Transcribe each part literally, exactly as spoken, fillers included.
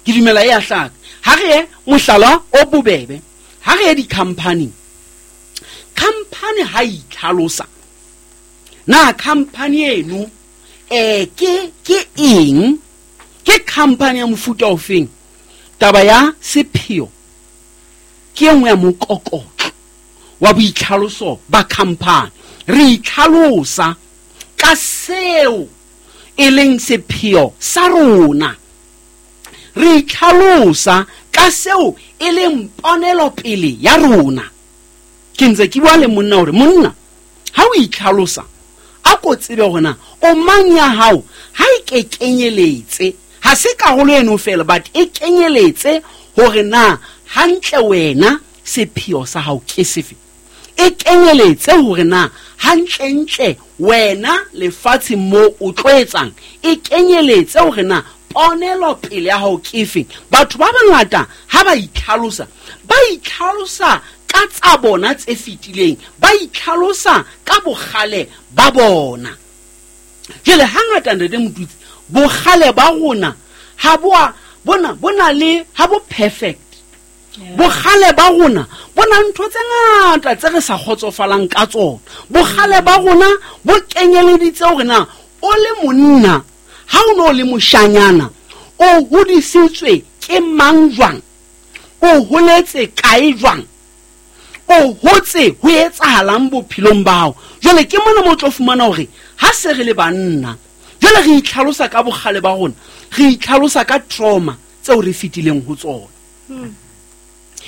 Ke dumela e a hlaka. Ha re ye mohlala o bobebe, ha re ye di-company. Company ha e itlhalosa, na company eno eh ke ke eng? Ke company ya mofuta ofeng? Taba ya sepheo ke e nngwe ya mokokotlo wa boitlhaloso ba company. Re itlhalosa ka seo e leng sepheo sa rona. Re itlhalosa ka seo e leng ponelopele ya rona. Ke ntse ke bua le monna hore monna ha o itlhalosa a ko tsebe hore na o mang ya hao ha e ke kenyeletse, ha se karolo eno fela, but e kenyeletse hore na hantle wena sepheo sa hao ke sefe. E kenyeletse hore na hantlentle wena lefatsheng mo o tlo etsang, e kenyeletse hore na ponelopele ya hao ke efe. Batho ba bangata ha ba itlhalosa, ba itlhalosa ka tsa bona tse fetileng, ba itlhalosa ka bokgale ba bona. Jwale hangata ntate Motutsi, bokgale ba rona ha bo a bona bona le ha bo perfect. Bokgale ba rona bo na ntho tse ngata tse re sa kgotsofalang ka tsona. Bokgale ba rona bo kenyeleditse hore na o le monna ha o no le moshanyana o hodisitswe ke mang jwang, o holetse kae jwang, o hotse ho etsahalang bophelong ba hao. Jwale ke mona mo tlo fumana hore ha se re le banna jwale re itlhalosa ka bokgale ba rona, re itlhalosa ka trauma tseo re fetileng ho tsona.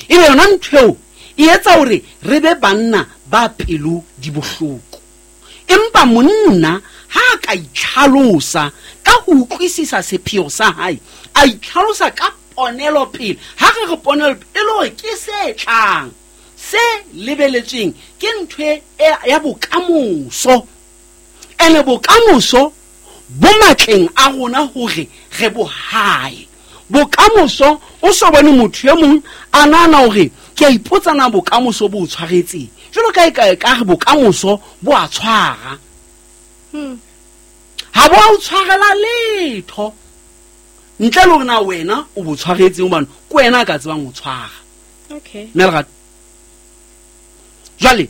E be yona ntho eo e etsa hore re be banna ba pelo di bohloko. Empa monna ha a ka itlhalosa ka ho utlwisisa sepheo sa hae, a itlhalosa ka ponelopele. Ha re re ponelopele e le hore ke se tlang, se lebeletsweng ke ntho e ya bokamoso. Ene bokamoso bo matleng a rona hore re bo hae. Bokamoso o so bone motho e mong a nahana hore ke a ipotsa na bokamoso bo o tshwaretseng. Jwalo ka e ka e ka re bokamoso bo a tshwara. Ha bo a o tshwarela letho ntle le hore na wena o bo tshwaretseng, hobane ke wena a ka tsebang ho tshwara. Okay. Mme Lerato, jwale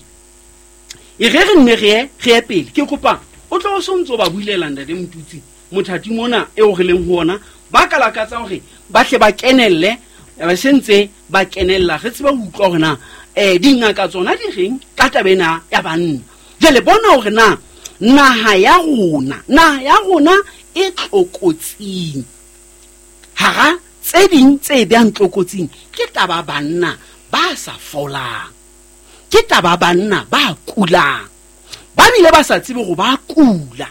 e re re nne re ye, re ye pele. Ke kopa o tlo o sontso ba bulela ntate Motutsi mothati mona eo re leng ho ona, ba ka lakatsa hore ba tle ba kenelle, ba sentse ba kenella, re tsebe ho utlwa hore na eh dingaka tsona di reng ka taba ena ya banna. Jwale bona hore na naha ya rona, naha ya rona e tlokotsing. Hara tse ding tse behang tlokotsing ke taba banna ba sa folang, ke taba banna ba kulang, ba bile ba sa tsebe hore ba kula.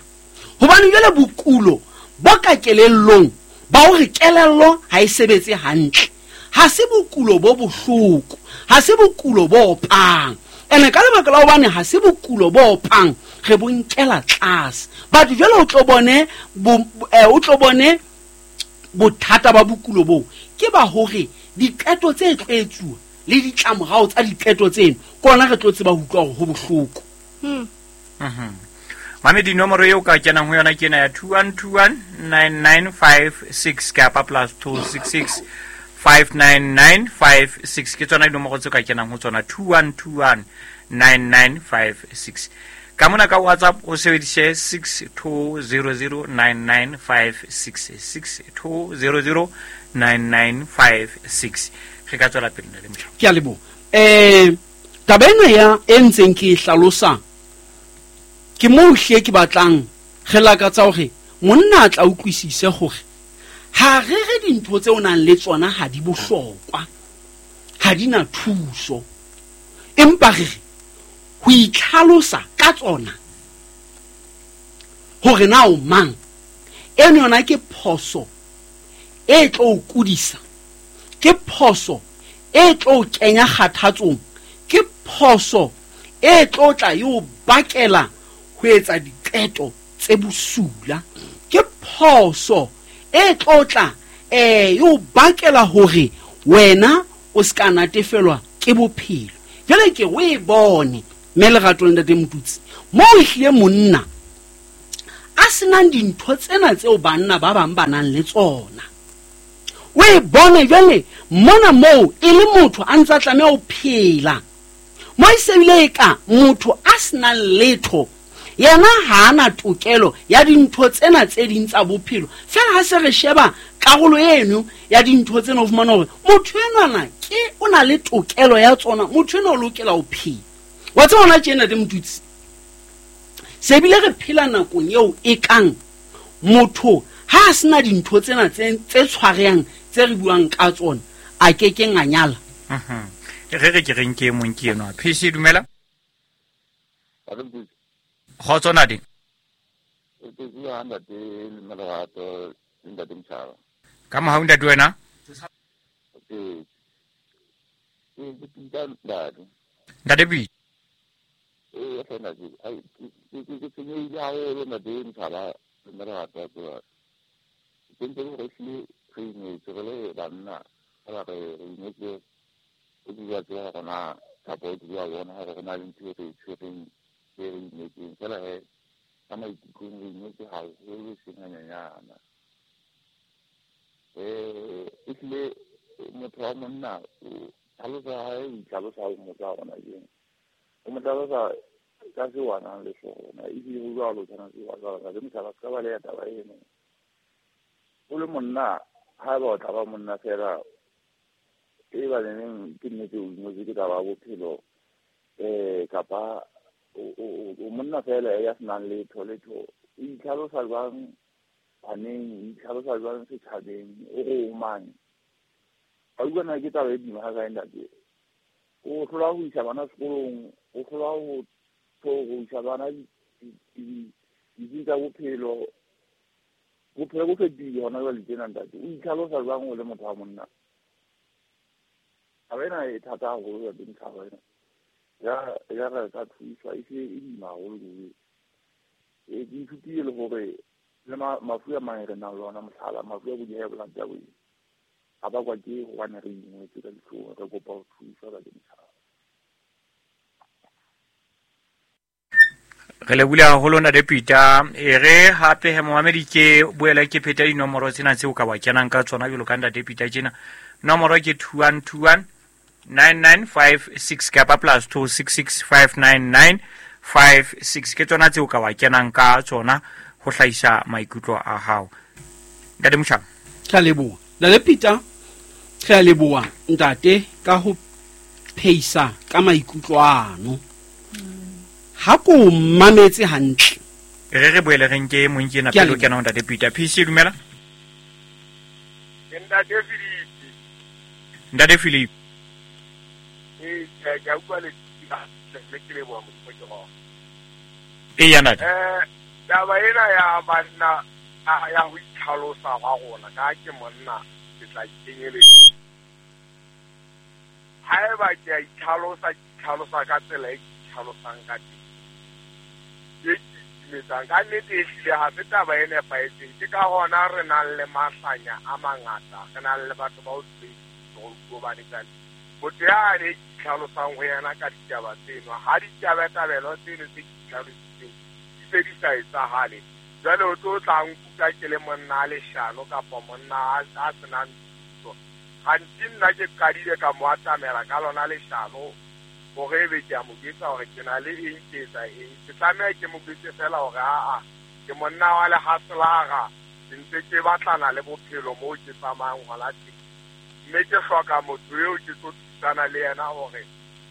Hobane jwale bokulo bo ka kelellong ba hore kelello ha e sebetse hantle, ha se bokulo bo bohloko, ha se bokulo bo opang. Ene ka lebaka la hobane ha se bokulo bo opang, re bo nkela tlase. Batho jwale o tlo bone bo, eh, o tlo bone bothata ba bokulo boo ke ba hore diqeto tse tlo etsuwa le ditlamorao tsa diqeto tseno ke ona re tlo tseba ho utlwa hore ho bohloko. Hmm. Mhm. Mame, dinomoro eo ka kenang ho yona ke ena ya two one two one nine nine five six kapa plus two six six five nine nine five six. Ke tsona dinomoro tseo ka kenang ho tsona, two one two one nine nine five six. Ka mona ka WhatsApp o sebedise six two zero zero nine nine five six, six two zero zero nine nine five six. Re ka tswela pele le motjha. Ke a leboha. Eh, taba ena ya e ntseng ke e hlalosa, ke moo hle ke batlang re lakatsa hore monna a tla utlwisise hore ha re re dintho tse o nang le tsona ha di bohlokwa, ha di na thuso, empa re re ho itlhalosa ka tsona hore na o mang, eno yona ke phoso e tlo o kudisa, ke phoso e tlo o kenya kgathatsong, ke phoso e tlo tla e o bakela ho etsa diqeto tse bosula, ke phoso e tlo tla, eh, e o bakela hore wena o ska natefelwa ke bophelo. Jwale ke o e bone mme Lerato le ntate Motutsi, moo ehlile monna a senang dintho tsena tseo banna ba bang ba nang le tsona, O e bone jwale mona moo e le motho a ntsa tlameha ho phela. Mo e sebile e ka motho a senang letho yena ha ana tokelo ya dintho tsena tse ding tsa bophelo. Fela ha se re sheba karolo eno ya dintho tsena o fumana hore motho enwana ke o na le tokelo ya tsona, motho enwa o lokela ho phela. Wa tseba hona tjena de Motutsi, se bile re phela nakong eo e kang motho ha a sena dintho tsena tse tse tshwarehang tse re buang ka tsona a kekeng a nyala. Mhm. Re re ke reng ke mong ke enwa. P C dumela. Kgotso ntate. Ka mohau ntate wena? Ntate P. O le monna ha ba o tla ba monna fela e ba neng ke nnete o ingwetse ke taba ya bophelo eh kapa o monna fela ya senang letho letho o itlhalosa jwang baneng, o itlhalosa jwang setjhabeng, o re o mang. A utlwana ke taba e boima ha kae ntate. O hlola ho isa bana sekolong, o hlola ho ho isa bana ditsing tsa bophelo. Bophelo bo fetohile hona jwale tjena ntate. O itlhalosa jwang o le motho wa monna? Taba ena e thata haholo ntate Motjhaba ena. Ya ya re ka thuswa e se e boima haholo ke. E ke ithutile le hore le mafu a mang re nang le ona, mohlala mafu a bo di-high blood a bo a bakwa ke hobane re ingwetse ka dihlong, re kopa ho thuswa ka Motjhaba. Re lebohile haholo ntate Peter. E re hape he momamedi ke boela ke pheta dinomoro tsena tseo ka wa kenang ka tsona jwalo ka ntate Peter tjena. Nomoro ke two one two one nine nine five six kapa plus two six six five nine nine five six ke tsona tseo ka wa kenang ka tsona ho hlahisa maikutlo a hao. Ntate Motjhaba. Ke a leboha. Ntate Peter, re a leboha ntate ka ho pheisa ka maikutlo ano. Ha ko mametse hantle. Re re boele re nke mong ke ena pele o kena ho ntate Peter. P C dumela. Ntate Philip. Ntate Philip. Eh ke a utlwa le le ke leboha Modimo ke gona. E ya ntate. Eh taba ena ya banna ya ho itlhalosa ga rona ka ke monna ke tla ikenyele. Haeba ke a itlhalosa ke itlhalosa ka tsela e ke itlhalosang ka teng. E ke ka nnete e hlile ha se taba e nepahetseng. Ke ka hona re nang le mahlanya a mangata, re nang le batho ba o hobane jwale motho yane ke itlhalosang ho yena ka ditaba tseno ha ditabatabelo tseno tse ke itlhalositseng di se di sa etsahale. Jwale o tlo tla nkuka ke le monna a leshano kapa monna a senang thuso. Gantsi nna ke qadile ka mo atamela ka lona leshano hore ebe ke a mo jwetsa hore ke na le eng, ke etsa eng. Ke tlameha ke mo jwetse fela hore aa ke monna wa lehaselaga, ke ntse ke batlana le bophelo moo ke tsamayang hona teng. Mme ke hloka motho eo ke tlo thusana le yena hore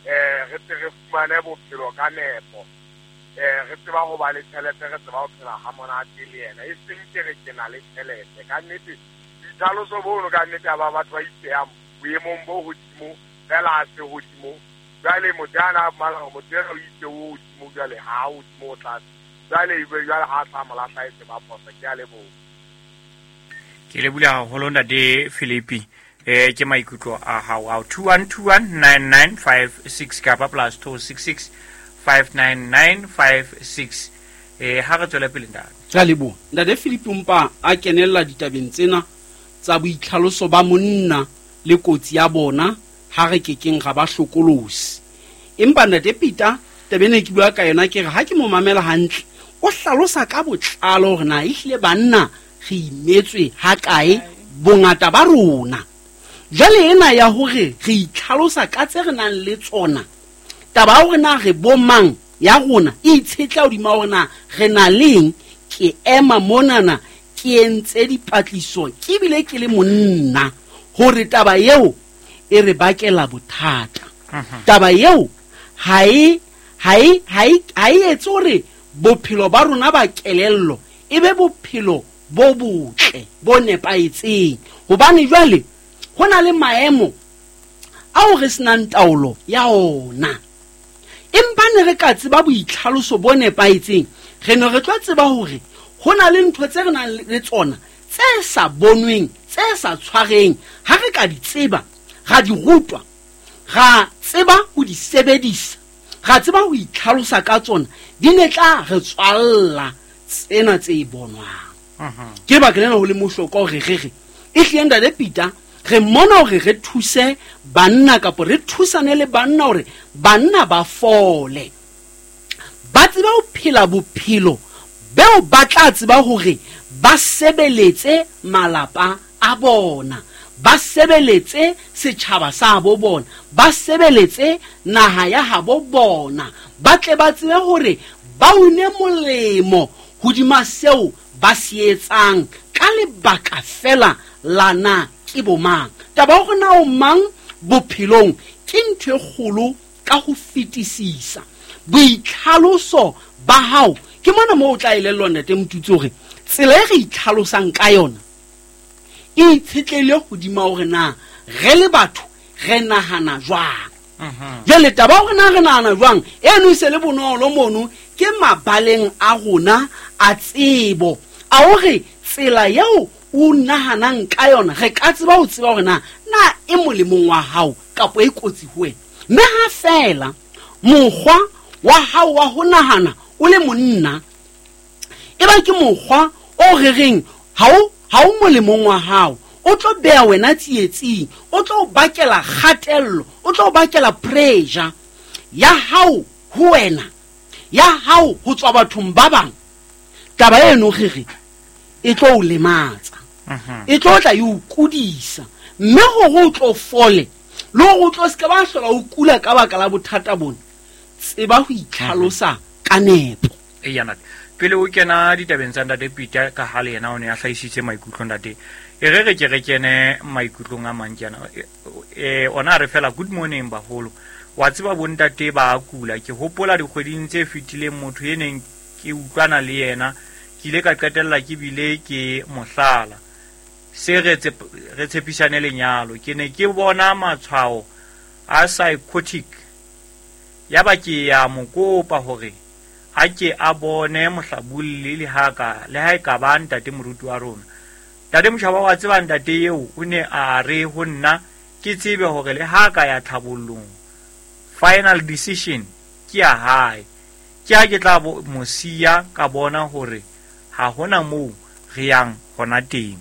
eh re tle re fumane bophelo ka nepo. Eh re tseba ho ba le tjhelete, re tseba ho phela ha monate le yena. E seng ke re ke na le tjhelete. Ka nnete boitlhaloso bono ka nnete ba batho ba ipehang boemong bo hodimo fela ha se hodimo. Jwale motho ana mala motho ena o itse o hodimo jwale ha hodimo o tlase. Jwale ebe jwale ha tla mo lahla e se ba phoso. Ke a leboha. Ke lebohile haholo ntate Philip. Eh ke maikutlo a hao ao two one two one nine nine five six kapa plus two six six five nine nine five six. Eh ha re tswele pele ntate. Ke a leboha. Ntate Philip mpa a kenella ditabeng tsena tsa boitlhaloso ba monna le kotsi ya bona ha re kekeng ga ba hlokolosi. Empa ntate Peter taba ena ke bua ka yona ke re ha ke mo mamela hantle o hlalosa ka botlalo hore na ehlile banna re imetswe ha kae Bongata ba rona. Jwale ena ya hore re itlhalosa ka tse re nang le tsona, taba ya hore na re bomang ya rona e itshetla hodima hore na re na leng. Ke ema monana ke entse dipatlisiso ke bile ke le monna hore taba eo e re bakela bothata. Taba eo ha e ha e ha e ha e etse hore bophelo ba rona ba kelello e be bophelo bo botle bo nepahetseng, hobane jwale ho na le maemo ao re senang taolo ya ona. Empa ne re ka tseba boitlhaloso bo nepahetseng, re ne re tlo tseba hore ho na le ntho tse re nang le tsona tse sa bonweng, tse sa tshwareng. Ha re ka di tseba, ra di rutwa, ra tseba ho di sebedisa, ra tseba ho itlhalosa ka tsona, di ne tla re tswalla tsena tse bonwang. Ke lebaka lena ho le mohlokwa hore re re e hlile Ntate Peter re mona hore re thuse banna kapo re thusane le banna hore banna ba fole, ba tsebe ho phela bophelo beo ba tla tseba hore ba sebeletse malapa a bona, ba sebeletse setjhaba sa bo bona, ba sebeletse naha ya habo bona, ba tle ba tsebe hore ba une molemo hodima seo ba se etsang ka lebaka fela la na ke bomang. Taba ya hore na o mang bophelong ke ntho e kgolo ka ho fetisisa. Boitlhaloso ba hao ke mona moo o tla elellwa Ntate Motutsi hore tsela e re itlhalosang ka yona e itshetlehile hodima hore na re le batho re nahana jwang. Jwale taba ya hore na re nahana jwang eno e se le bonolo mono ke mabaleng a rona a tsebo a hore tsela eo o nahanang ka yona re ka tseba ho tseba hore na na e molemong wa hao kapa e kotsi ho wena. Mme ha fela mokgwa wa hao wa ho nahana o le monna e ba ke mokgwa o rereng ha o ha o molemong wa hao, o tlo beha wena tsietsing, o tlo bakela kgatello, o tlo bakela pressure ya hao ho wena, ya hao ho tswa bathong ba bang. Taba eno re re e tlo o lematsa, e tlo tla e o kudisa, mme hore o tlo fole le hore o tlo se ke ba hlola o kula ka baka la bothata bona, tseba ho itlhalosa ka nepo. Eya ntate, pele o kena ditabeng tsa Ntate Peter ka ha le yena o ne a hlahisitse maikutlo ntate, e re re ke re kene maikutlong a mang tjena. E ona re fela good morning baholo, wa tseba bontate ba kula. Ke hopola dikgweding tse fetileng motho e neng ke utlwana le yena ke ile ka qetella ke bile ke mohlala se re re tshepisane lenyalo. Ke ne ke bona matshwao a psychotic, ya ba ke ya mo kopa hore a ke a bone mohlabulli le ha ka le ha e ka ba ntate moruti wa rona. Ntate Motjhaba wa tseba ntate eo o ne a re ho nna ke tsebe hore le ha ka ya tlhabollong final decision ke ya hae. Ke ha ke tla mo siya ka bona hore ha hona moo re yang hona teng.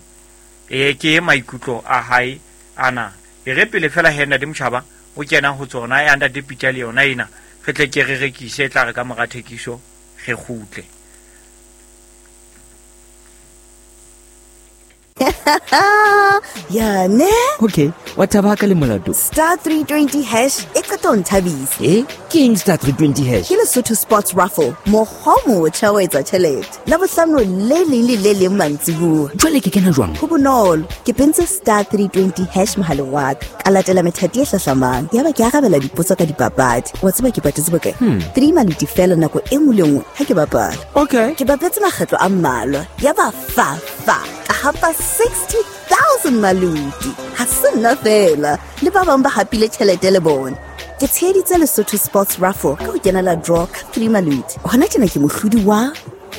E ke maikutlo a hae ana. E re pele fela he Ntate Motjhaba o kena ho tsona ya Ntate Peter le yona ena re tle ke re rekise, tla re ka mora thekiso re kgutle. Ya ne? Okay, wa thaba ka le molato. Star three twenty hash e qeta ho nthabisa. Eh, ke eng star three twenty hash? Ke Lesotho Sports Raffle, mokgwa o motjha wa etsa tjhelete. Labohlano le leng le le leng mantsibuya. Jwale ke kena jwang? Ho bonolo, ke pentse star three twenty hash mohaleng wa ka. Ka latela methati e hlahlamang. Yaba ke arabela dipotso ka dipapadi. Wa tseba ke patetse bokae? Hmm. Three maluti fela nako e nngwe le nngwe ha ke bapala. Okay. Ke bapetse makgetlo a mmalwa. Yaba fa fa ka hapa sixty thousand maluti. Ha se nna fela, le ba bang ba hapile tjhelete le bona. Ke tsheheditse Lesotho Sports Raffle ka ho kenela draw ka three maluti. Hona tjena ke mohlodi wa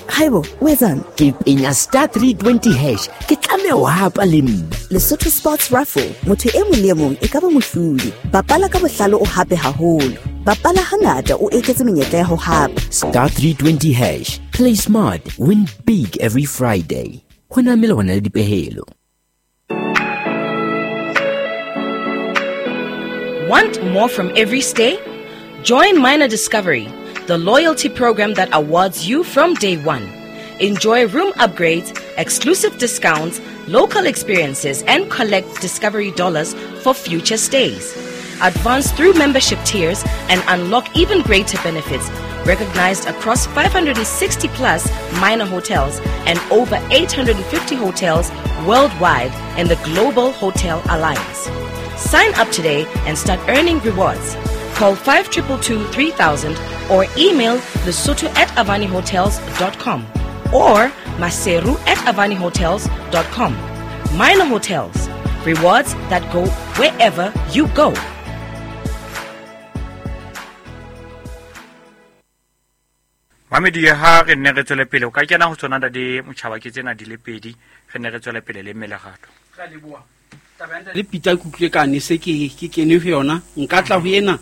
Haibo, o etsang? Ke penya star three twenty hash. Ke tlameha ho hapa le nna. Lesotho Sports Raffle, motho e mong le e mong e ka ba mohlodi. Bapala ka bohlale o hape haholo. Bapala hangata o eketse menyetla ya ho hapa. Star three twenty hash. Play smart, win big every Friday. Ho na melawana le dipehelo. Want more from every stay? Join Minor Discovery, the loyalty program that awards you from day one. Enjoy room upgrades, exclusive discounts, local experiences and collect Discovery Dollars for future stays. Advance through membership tiers and unlock even greater benefits, recognized across five hundred sixty plus Minor hotels and over eight hundred fifty hotels worldwide in the Global Hotel Alliance. Sign up today and start earning rewards. Call five two two two three thousand or email lesotho at avani hotels dot com or maseru at avani hotels dot com. Minor Hotels, rewards that go wherever you go. Mamedi ha re ne re tswele pele o ka kena ho tsona ntate Motjhaba ke tsena di le pedi re ne re tswele pele le mmelegato. Ra leboha. Taba ya ntate Peter ke utlwe ka ne se ke ke kene ho yona nka tla ho ena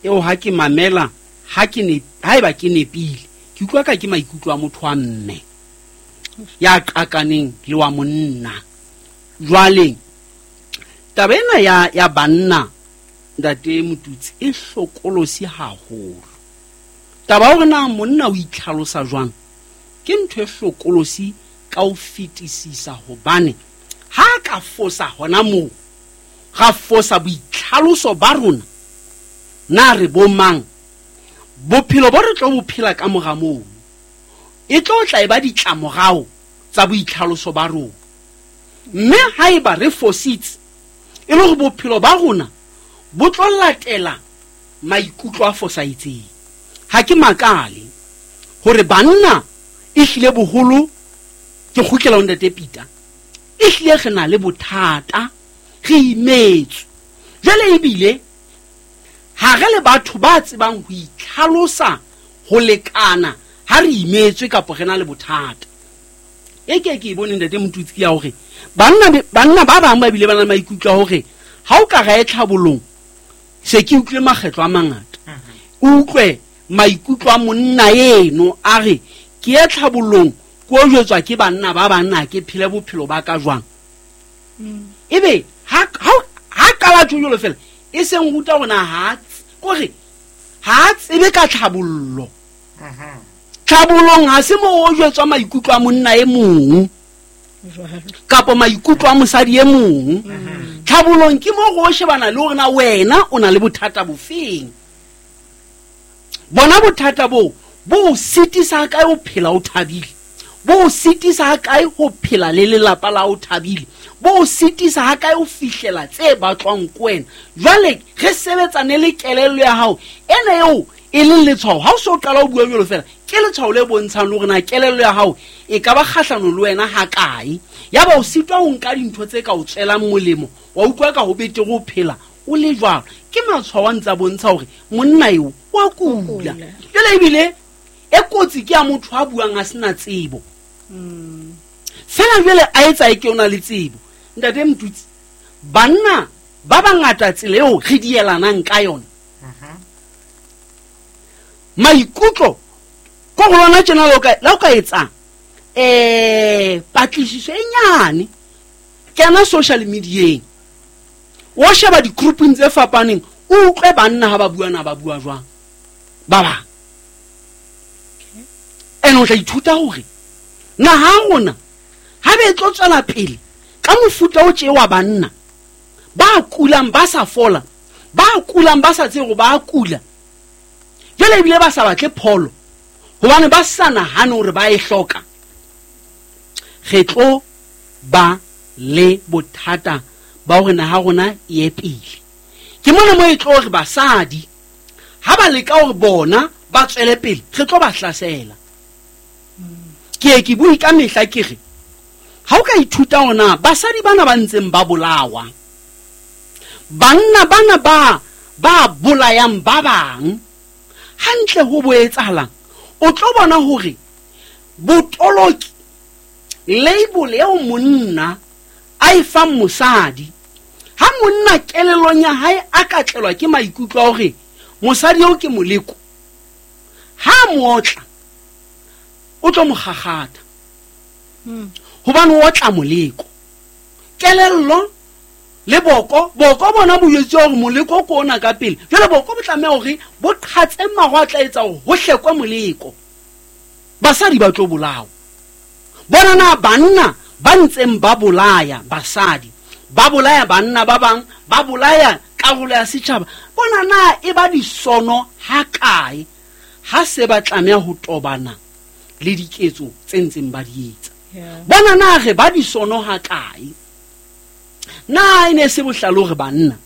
eo ha ke mamela ha ke ne haeba ke nepile ke utlwa ka ke maikutlo a motho wa mme ya qakaneng le wa monna. Jwale taba ena ya ya banna ntate Motutsi e hlokolosi haholo. Taba hore na monna o itlhalosa jwang ke ntho e hlokolosi ka ho fetisisa hobane ha ka fosa hona moo ga fosa boitlhaloso ba rona na re bo mang bophelo bo re tlo bophela ka mora moo e tlo tla e ba ditlamorao tsa boitlhaloso ba rona mme haeba re fositse e le hore bophelo ba rona bo tlo latela maikutlo a fosahetseng. Ha ke makale hore banna e hlile boholo ke kgutlela ho ntate Peter e hlile re na le bothata re imetswe jwale ebile ha re le batho ba tsebang ho itlhalosa ho lekana ha re imetswe kapa re na le bothata. E ke ke bone ntate Motutsi ya hore banna banna ba bang ba bile ba na le maikutlo a hore ha o ka ra e tlhabolong se ke utlwe makgetlo a mangata o utlwe maikutlo a monna eno a re ke ye tlhabolong ko jwetswa ke banna ba banna ke phele bophelo ba ka jwang. Ebe ha ha qala tjolo fela e seng ruta rona ha kore ha tsebe ka tlhabollo. Tlhabolong ha se mo o jwetswa maikutlo a monna e mong kapa maikutlo a mosadi e mong. Tlhabolong ke mo go shebana le hore na wena o na le bothata bofeng. Bona bothata bo bo sitisa kae ho phela o thabile, bo sitisa kae ho phela le lelapa la o thabile, bo sitisa kae ho fihlela tse batlwang ko wena. Jwale re sebetsane le kelello ya hao ena eo e leng letshwao ha o so qala o bua jwalo fela ke letshwao le bontshang le hore na kelello ya hao e ka ba kgahlano le wena ha kae. Ya ba o sitwa ho nka dintho tse ka o tswelang molemo wa utlwa ka ho betere ho phela o le jwalo. Ke matshwao a ntsa bontsha hore monna eo wa kula. Jwale ebile e kotsi ke ya motho a buang a sena tsebo fela jwale a etsa e ke ona le tsebo. Ntate Motutsi banna ba bangata tsela eo re dielanang ka yona maikutlo ko go lona tjena la o ka la o ka etsa eh patlisiso e nyane kena social media o sheba di-grouping tse fapaneng o utlwe banna ha ba bua na ba bua jwang ba bang. Ene o tla ithuta hore naha rona ha be tlo tswela pele ka mofuta o tje wa banna ba kulang ba sa fola ba kulang ba sa tsebe ba kula jwale ebile ba sa batle pholo hobane ba sa nahane hore ba e hloka. Re tlo ba le bothata ba hore naha rona e ye pele. Ke mona mo e tlo hore basadi ha ba leka hore bona ba tswele pele re tlo ba hlasela. Ke ke bue ka mehla ke re ha o ka ithuta ona basadi bana ba ntseng ba bolawa banna bana ba ba bolayang ba bang hantle ho bo etsahalang o tlo bona hore botoloki label eo monna a e fang mosadi ha monna kelellong ya hae a ka tlelwa ke maikutlo a hore mosadi eo ke moleko ha mootla o tlo mo kgakgatha hobane o otla moleko kelello le boko boko bona bo jwetse hore moleko ke ona ka pele jwale boko bo tlameha hore bo qhatse maho a tla etsa hore ho hlekwe moleko basadi ba tlo bolawa bona na banna ba ntseng ba bolaya basadi, ba bolaya banna ba bang, ba bolaya karolo ya setjhaba, bona na e ba disono ha kae ha se ba tlameha ho tobana le diketso tse ntseng ba di etsa. Bona na re ba disono ha kae? Na e ne se bohlalo re banna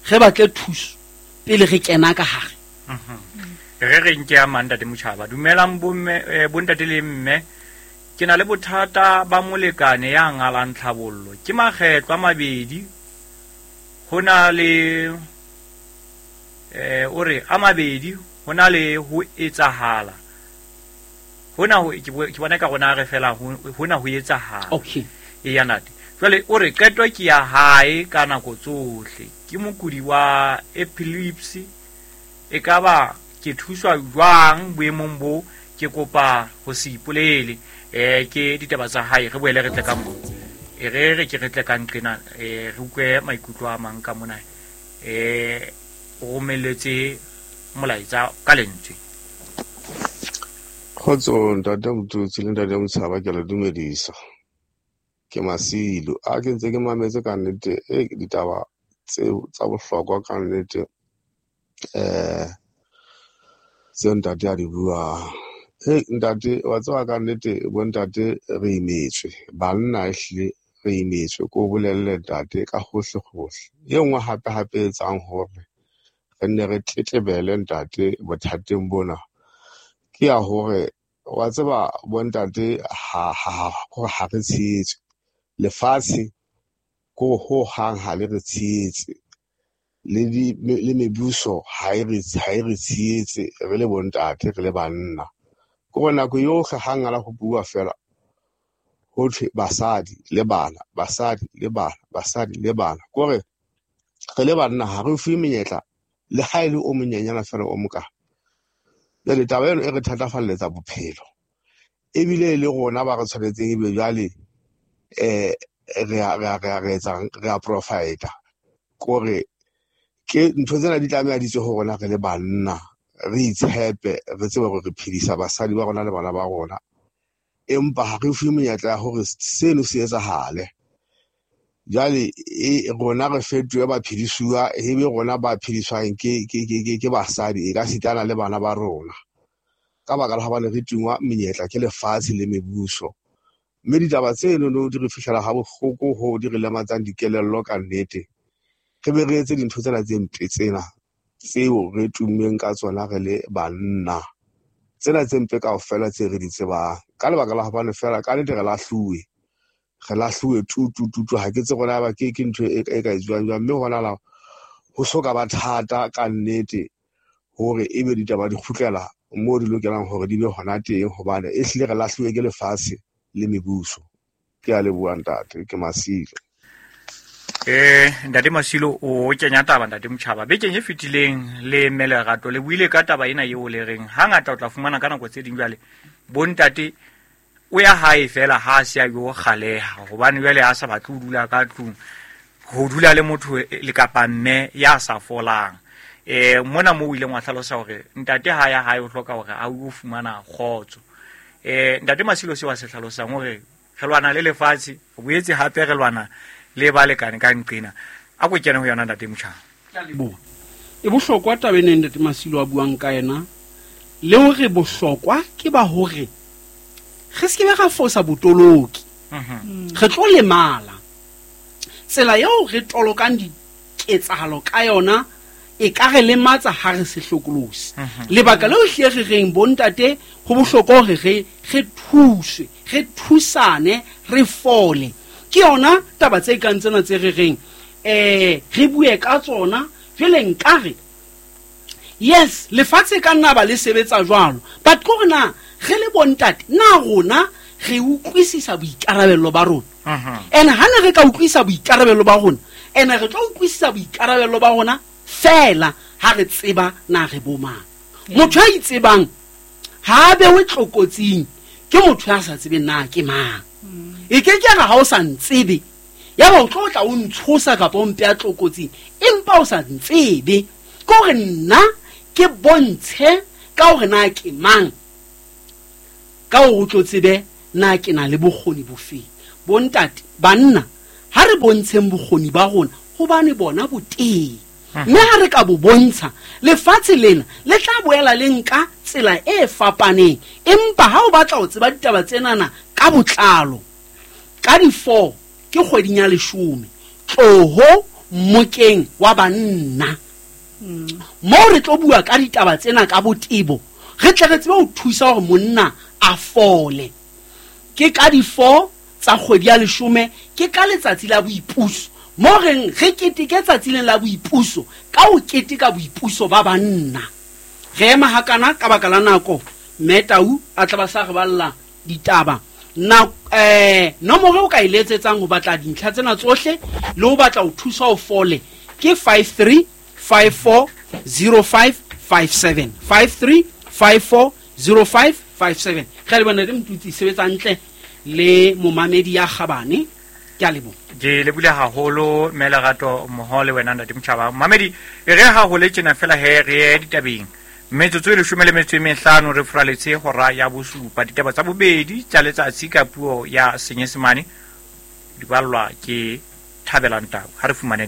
re batle thuso pele re kena ka hare. Re re nke ya mang ntate Motjhaba. Dumelang bomme, bontate le mme. Ke na le bothata ba molekane ya ngalang tlhabollo. Ke makgetlo a mabedi ho na le eh o re a mabedi ho na le ho etsahala. Hona ho ke bona ka rona re fela hona ho etsahala. Okay. E ya ntate. Jwale o re qeto ke ya hae ka nako tsohle. Ke mokudi wa epilepsy. E ka ba ke thuswa jwang boemong bo ke kopa ho se ipolele. Eh ke ditaba tsa hae re boele re tle ka mo. E re re ke re tle ka nqena eh re utlwe maikutlo a mang ka mona. Eh o romelletse molaetsa ka lentswe. Kgotso ntate Motutsi le ntate Motshaba, ke le dumedisa. Ke Masilo. A ke ntse ke mametse ka nnete e ditaba tseo tsa bohlokwa ka nnete eh tseo ntate a di buang. Hey ntate, wa tseba ka nnete bo ntate re imetswe, banna ehlile re imetswe, ko bolelle ntate ka hohle hohle. E nngwe hape hape e etsang hore re nne re tletlebele ntate bothateng bona ke ya hore wa tseba bo ntate ha ha ha re tshehetse lefatshe ko ho hang ha le re tshehetse le di le mebuso ha e re ha e re tshehetse re le bontate re le banna. Ke gore nako yohle ha ngala ho bua fela ho thwe basadi le bana, basadi le bana, basadi le bana. Ke gore re le banna ha re fuwe menyetla le ha e le o monyenyana fela o moka. Jwale taba eno e re thatafalletsa bophelo. Ebile le rona ba re tshwanetseng ebe jwale eh re a re a re etsang re a profita. Kore ke ntho tsena di tlameha di tswe ho rona re le banna, re itshepe, re tsebe hore re phedisa basadi ba rona le bana ba rona. Empa ha re fuwe menyetla ya hore seno se etsahale. Jwale e rona re fetohe ba phedisuwa, ebe rona ba phediswang ke ke ke ke basadi e ka sitana le bana ba rona. Ka baka la hobane re tingwa menyetla ke lefatshe le mebuso. Mme ditaba tseno no di re fihlela ha bohloko ho di re lematsang dikelello ka nnete. Re be re etse dintho tsena tse mpe tsena tseo re tummeng ka tsona re le banna. Tsena tse mpe kaofela tse re di tsebang. Ka lebaka la hobane fela ka nnete re lahluwe. Re lahluwe tu tu tu tu ha ke tse rona ba ke ke ntho e ka etsuwang jwang, mme hona la ho soka ba thata ka nnete hore ebe ditaba di kgutlela moo di lokelang hore di be hona teng, hobane e hlile re lahluwe ke lefatshe le mebuso. Ke a leboha ntate, ke Masilo. Eh ntate Masilo o kenya taba ntate Motjhaba. Bekeng e fetileng le Mmelerato le buile ka taba ena eo le reng hangata o tla fumana ka nako tse ding jwale bontate o ya hae fela ha se a yo kgaleha hobane jwale ha sa batle ho dula ka tlung, ho dula le motho le kapa mme ya sa folang. Eh mona mo o ileng wa hlalosa hore ntate ha ya hae o hloka hore a o fumana kgotso. Eh ntate Masilo se wa se hlalosang hore re lwana le lefatshe, o boetse hape re lwana le balekane ka nqena. A ko kene ho yona ntate Motjhaba. Bo. E bohlokwa taba ena ntate Masilo a buang ka yena, le hore bohlokwa ke ba hore re se ke ra fosa botoloki. Re tlo lemala. Tsela eo re tolokang diketsahalo ka yona e ka re lematsa ha re se hlokolosi. Lebaka leo hle re reng bontate ho bohlokwa hore re re thuswe, re thusane, re fole. Ke yona taba tse kang tsena tse re reng eh re bue ka tsona. Jwale nkare yes lefatshe ka nna ba le sebetsa jwalo, but ko rena re le bontate na rona re utlwisisa boikarabelo ba rona. Ene ha ne re ka utlwisisa boikarabelo ba rona, ene re tlo utlwisisa boikarabelo ba rona fela ha re tseba na re bo mang. Motho a itsebang ha a bewe tlokotsing ke motho ya sa tsebeng na ke mang. E ke ke re ha o sa ntsebe ya ba o tlo tla o ntshosa kapa o mpea tlokotsing, empa o sa ntsebe. Ke hore nna ke bontshe ka hore na ke mang, ka hore o tlo tsebe na ke na le bokgoni bofeng. Bontate, banna, ha re bontsheng bokgoni ba rona hobane bona bo teng. Mme ha re ka bo bontsha, lefatshe lena le tla boela le nka tsela e fapaneng. Empa ha o batla ho tseba ditaba tsenana ka botlalo, ka di-four ke kgweding ya leshome, tloho mmokeng wa banna. Moo re tlo bua ka ditaba tsena ka botebo, re tle re tsebe ho thusa hore monna a fole. Ke ka di-four tsa kgwedi ya leshome, ke ka letsatsi la boipuso. Mo reng re keteke tsatsi lena la boipuso ka ho keteka boipuso ba banna. Re ema hakana ka baka la nako, mme Tau a tla ba sa re balla ditaba. Na eh nomoro o ka e letsetsang ho batla dintlha tsena tsohle le ho batla ho thusa ho fole ke five three five four zero five five seven, five three five four zero five five seven. Re le bona re motutsi sebetsa ntle le momamedi ya kgabane. Ke a leboha. Ke lebule haholo mme Lerato mmoho le wena ntate Motjhaba. Mamedi, e re ha ho le tjena fela he re ye ditabeng. Metsotso e leshome le metso e mehlano re furaletse hora ya bosupa. Ditaba tsa bobedi tsa letsatsi ka puo ya Senyesemane di ballwa ke Thabelang Tau. Ha re fumane